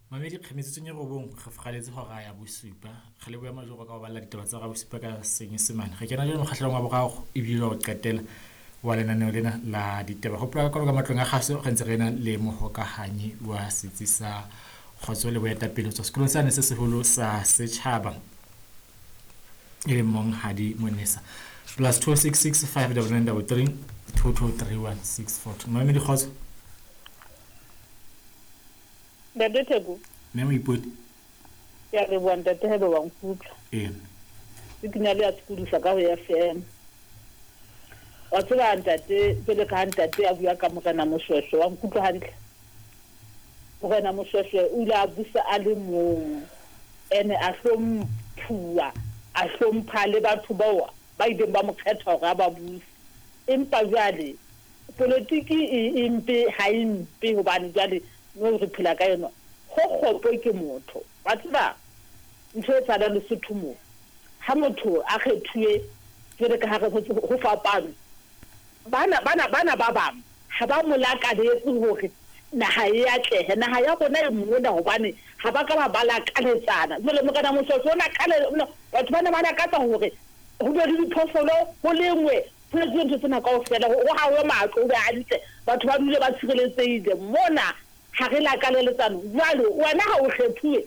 Mamedi kgemetsotsong e robong re fogaletse hora ya bosupa. Re leboha Majoro ka ho balla ditaba tsa hora bosupa ka Senyesemane. Re kena jwale mokgahlelong wa boraro ebile wa ho qetela wa lenaneo lena la ditaba. Hopola ka ka matlong a kgaso re ntse re na le mohokahanyi wa setsi sa kgotso le boetapele ho tswa sekolong sane se seholo sa setjhaba e leng Monghadi Monesa. +266 599 33 2231 642. Mamedi kgotso. Ntate Theko. Mme Moipoti. Ke a leboha ntate haeba wa nkutlwa. Ee. Signal ya sokodisa ka ho FM. Wa tseba ntate jwale ka ha ntate a bua ka Morena Moshweshwe wa nkutlwa hantle. Morena Moshweshwe o ile a busa a le mong ene a hlomphuwa a hlompha le batho bao ba ileng ba mo kgetha hore a ba buse. Empa jwale polotiki e, e mpe ha e mpe hobane jwale no re phela ka yona ho kgopo ke motho. Wa tseba ntho e etsahalang Lesotho mo ha motho a kgethuwe jwale ka ha re ho fapano bana bana bana ba bang ha ba mo lakaletse hore naha e atlehe. Naha ya rona e mona hobane ha ba ka ba ba lakaletsana. Jwale Morena Moshweshwe o na batho ba ne ba lakatsa hore ho be le diphoofolo ho lengwe ho etsuwe ntho tsena kaofela ho hahwe matlo ho be hantle batho ba dule ba tshireletsehile. Mona ha re lakaleletsano. Jwale wena ha o kgethuwe.